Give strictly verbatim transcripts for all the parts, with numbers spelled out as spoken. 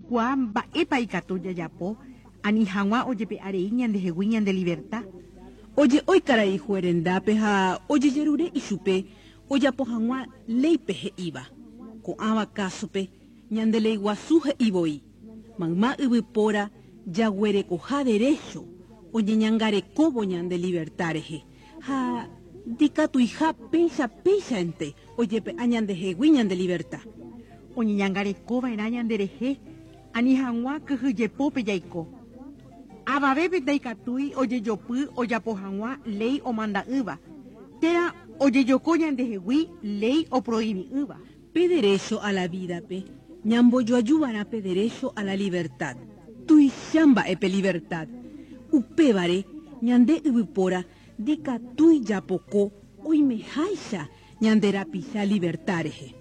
Jaikuaa mba'épa ikatu jajapo ani hag̃ua ojepe'arei ñandehegui ñande libertad. Oje'ói karai juez rendápe ha ojejerure ichupe ojapo hag̃ua léipe he'íva. Ko'ãva kásope ñande léi guasu he'ivoi. Mayma yvypóra jaguerekoha derecho oñeñangarekóvo ñande libertad rehe. Ha ndikatuiha péicha péichante ojepe'a ñandehegui ñande libertad. Oñeñangarekova'erã ñanderehe ani hag̃ua kyhyjepópe jaiko. Avavépe ndaikatúi ojejopy ojapo hag̃ua léi omanda'ỹva térã ojejoko ñandehegui léi oprohibi'ỹva. Pe derecho a la vida-pe ñambojoajuva'erã pe derecho a la libertad. Tuicha mba'e pe libertad. Upévare ñande yvypóra ndikatúi japoko oimeháicha ñande rapicha libertad rehe.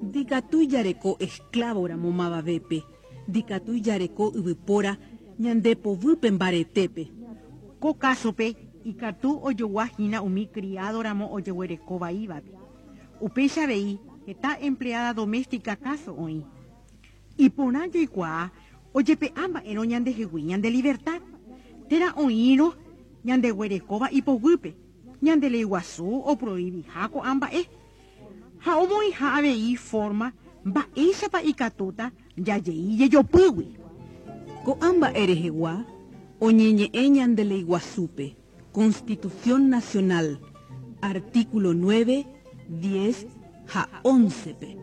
Ndikatúi jareko esclavo-ramo mavavépe. Ndikatúi jareko yvypóra ñande poguýpe mbaretépe. Ko kásope ikatu ojoguahína umi criado-ramo ojeguerekovaívape. Upéicha avei heta empleada doméstica káso oĩ. Iporã jaikuaa ojepe'a mba'érõ ñandehegui ñande libertad. Térã oĩrõ ñandeguerekóva ipoguýpe. Ñande léi guasu oprohibiha ko'ã mba'e. Ha omoĩha avei forma mba'éichapa ikatúta jajei jejopýgui. Ko'ã mba'e rehegua oñeñe'ẽ ñande léi guasúpe. Constitución Nacional, artículo nueve, diez ha once-pe.